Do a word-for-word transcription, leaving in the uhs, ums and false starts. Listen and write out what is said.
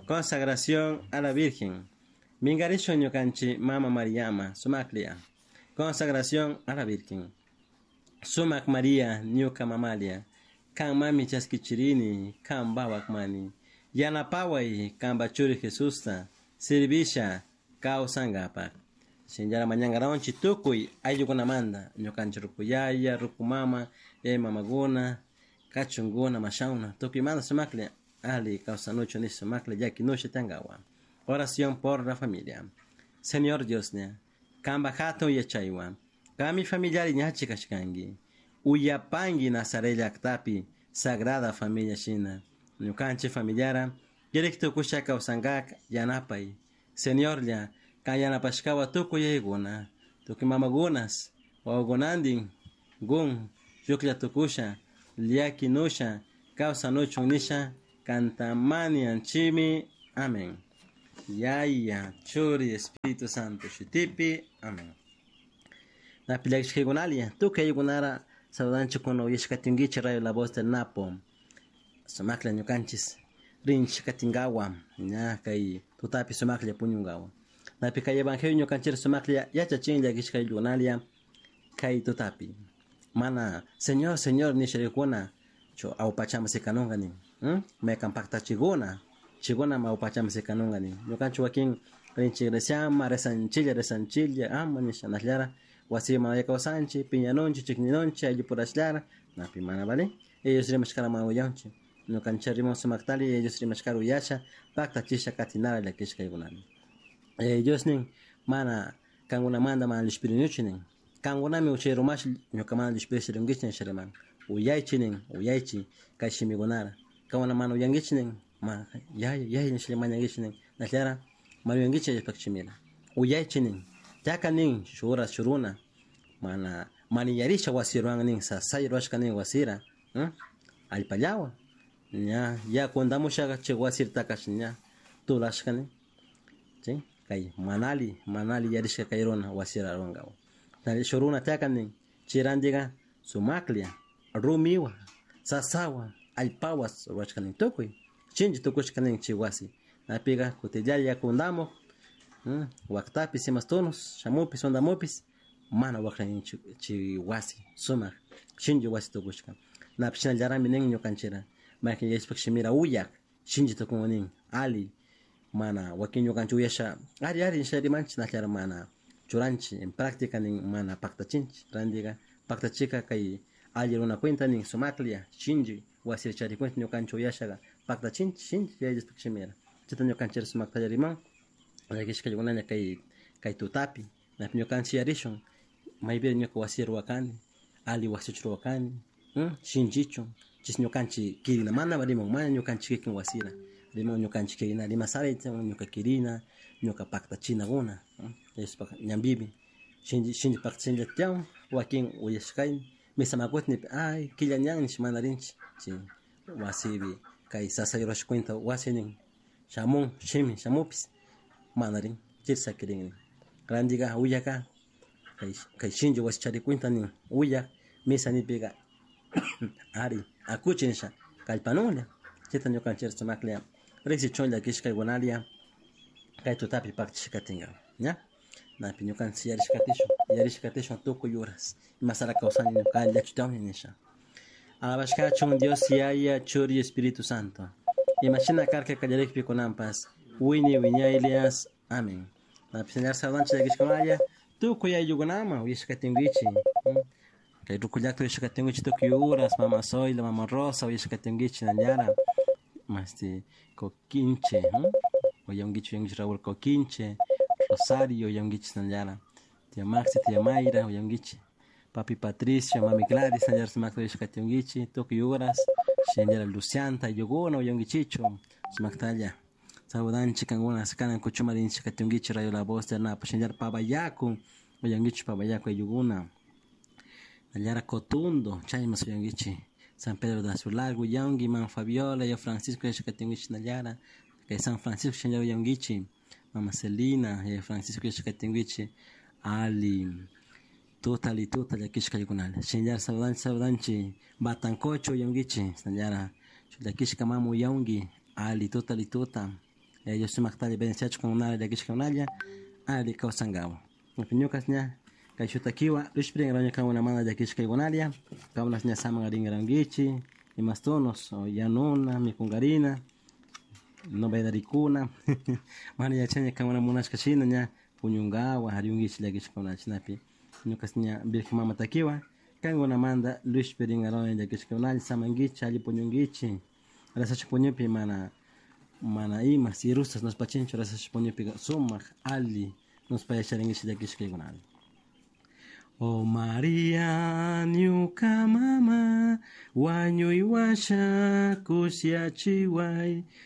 Consagración a la Virgen. Mingarishun ñukanchik Mama Mariama, sumaklia. Consagración a la Virgen. Sumak María, ñuka mamalia. Kan mami chaskichirini, kan bawak mani. Yanapaway, kan bachuri Jesusta, sirvisha, kawsankapak. Shinllara mañankaronchik tukuy ayllukunamanta, ñukanchik rukuyaya, rukumama, yaya mamakuna, kachunkuna, mashawna, tukuymanta sumaklla ali kawsanuchun nish sumaklla llakinusha tiyankawa. Oración por la familia. Señor Dioslla, kanpak hatun yachaywan, kami familiari ñachi kashkanki, uyapanki Nazaret llaktapi Sagrada Familia shina, ñukanchik familiara kirik tukusha kawsankak yanapay. Señorlla, kan yanapashkawa tukuy yaykuna, tukuy mamakunas, wawakunantin, gun, shuklla tukusha, llakinusha, kawsanuchun nisha, kantamani anchimi. Amén. Yaya, Churi, Espíritu Santo, shutipi. Amén. Napillakishkaykunalia, tukuy ayllukunara saludanchik kuna uyashkatinkichik Radio La Voz del Napo. Sumaklla ñukanchis rinchik katinkawa, ña kay tutapi sumaklla puñunkawa. Napi kay evangelio ñukanchik sumaklla yachachin llakishka ayllukunalia kay tutapi. Mana, Señor, Señor, nisharikuna, cho awpachama sikanunka nin. Hmm? Maykan paktachikuna, chikuna awpachama sikanunka nin. Ñukanchik wakin rinchik iglesiama, rezanchilla, rezanchilla, ama nisha nashllara, wasipi mana kawsanchik, piñanunchik, chikninunchik, ayllupurashllara, napi mana vale. Ellos rimashkara mana uyanchik. Ñukanchik riman sumaktali, ellos rimashkara uyasha, paktachisha katinara llakishka aykunami. Ellos nin, mana kankunamanta mana llishpirinichu nin. Kankunami uchay rumash ñuka mana llishpirisha rinkichik nisha riman. Uyaychi nin, uyaychi kay shimikunara. Kankuna mana uyankichik nin, ma yaya, yaya nishalla mañankichik nin. Nashllara mana uyankichik Diospaj shimira. Uyaychi nin, yaka nin, shuk uras shuk runa, mana maniyarisha wasi ruwan nin, sasay ruwashka nin wasira, hmm? Allpallawan. Ña, yaku undamushaka chay wasirtakash ña tulashka nin. ¿Sí? Kay manali, manali yarishka kay runa wasira ruwankawa. Shuk runa tiyaka nin, chay rantika sumaklla, rumiwa, sasawa, allpawa ruwashka nin tukuy. Shinchi tukushka nin chay wasi. Napiga kutillalla yaku undamuk, hmm? Waktapis imas tunus, shamupis undamupis, mana wakra nin chay wasi, sumak, shinchi wasi tukushka. Napi shinallarami nin ñukanchira, maykan Diospaj shimira uyak, shinchi tukun nin, ali, mana wakin ñukanchik uyasha, ari ari nisha rimanchik, nashllara mana churanchik, en práctica nin mana paktachinchik, rantika paktachika kay alli runa cuenta nin sumaklla, shinchi wasi chari cuenta ñukanchik uyashaga paktachinchik, shinchi Yaya Diospaj shimira. Chayta ñukanchik sumaktalla riman, llakishka kay kay tutapi, napi ñukanchik yarishun, maypi ñuka wasi ruwakani, ali wasichu ruwakani, hmm? Shinchichu, chis ñukanchik kirina, mana riman, mana ñukanchik kikin wasira, riman ñukanchik kirina, rimasari ñuka kirina, ñuka paktachinakuna, Diospaj ñanpipi, shinchi shinchi paktachinlla tiyan, wakin uyashkayni, misamakutin ay killa ñan nish mana rinchik, chay wasipi kay sasay rurashka cuenta wasi nin, shamun, shimi, shamupis, mana rin, chayta sakirin nin. Rantika uyaka, kay kay shinchi wasi chari cuenta nin, uyak, misa nipika, ari, akuchi nisha, kallpanunlla, chayta ñukanchik sumaklla riksichun llakishkaykunalia, kay tutapi paktachishka katinka, ña? Napi ñukanchik yarishka katishun, yarishka katishun tukuy uras, imasara kawsani ñuka llachu nisha. Alabashkachun Dios Yaya, Churi, Espíritu Santo. Imashina karka kallarikpi kunanpas, wiñay wiñaylias. Amén. Napi señor saludanchik llakishkunalla, tukuy ayllukunama uyashka katinkichik. Kay ruku llakta uyashka katinkichik tukuy uras, mama Zoila, mama Rosa uyashka katinkichik nallara. Masti Coquinche, uyankichik uyankichik Raúl Coquinche, Rosario uyankichik nallara. Tía Maxi, tía Mayra uyankichik. Papi Patricio, mami Gladys, nallara sumakta uyashka katinkichik tukuy uras. Shinallara Lucianta, ayllukuna uyankichichu sumaktalla. Saludanchik kankuna kanan kuchuma rinchik katinkichik Radio La Voz del Napo, shinallara Pabayaku, uyankichik Pabayaku ayllukuna. Nallara Cotundo, chaymas uyankichik. San Pedro de Azular, uyanki, Mama Fabiola, yo Francisco uyashka katinkichik nallara. Kay San Francisco shinallara uyankichik. Mama Celina, yo Francisco uyashka katinkichik. Ali, tuta ali tuta llakishka ayllunalla. Shinallara saludanchik saludanchik Batancocho uyankichik, shinallara llakishka mama uyanki, ali tuta ali tuta. Dios sumaktalla bendiciachun kankunalla llakishkakunalla ali kawsankawa. Ñukas ña kay shutakiwa lushpirin kankunamanta llakishkaykunalla kankunas ña saman rinkarankichik imastunos o yanuna mikunkarina novedarikuna mana yachani kankuna munashka shina ña puñunkawa riyunkichik llakishkakuna chaynapi ñukas ña Virgen Mama takiwa kankunamanta lushpirinkarani llakishkakunalla samankichik alli puñunkichik rezasha puñupi mana mana ima sirustas nuspachinchu rezasha puñupi sumak alli nuspa yacharinkichik llakishkaykunalla. Oh María, ñuka mama, wañuy washa kushiachiway.